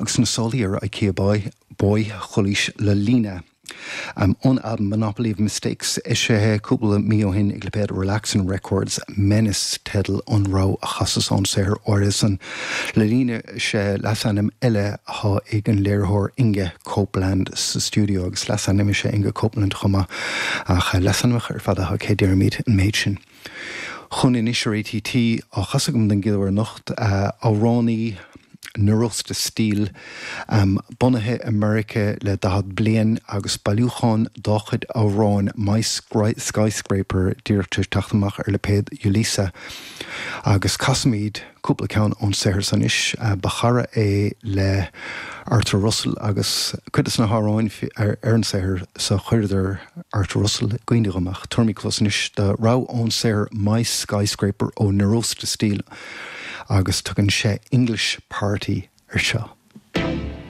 Agus na sálaí ar Ikea Boy, Boy Chulaois Lalina. Ón albam Monopoly of Mistakes, eisithe cúpla mí ó shin ag lipéad Relaxin Records, Menace teideal an rogha a chasas ón saothar áirithe san. Lalina is ea leasainm eile atá ag an léiritheoir Inge Copeland sa stiúideo, agus leasainm is ea Inge Copeland chomh maith, ach leasainmneacha ar fad atá aici, deirimid an méid sin. Chugainn anois ar ATT, á chasadh agam den gcéad uair anocht, amhránaí Nirosta Steel, bunaithe i Meiriceá le 40 bliain agus bailiúchán dá chuid amhráin My Skyscraper díreach tar éis teacht amach ar lipéad Ulisa agus casfaimid cúpla ceann ón saothar san anois. Ba chara é le Arthur Russell agus cuid de na hamhráin ar an saothar so chuireadar Arthur Russell i gcuimhne dhom ach tabharfaimid cluas anois do rogha ón saothar My Skyscraper ó Nirosta Steel agus tugann sé English Party ar seo.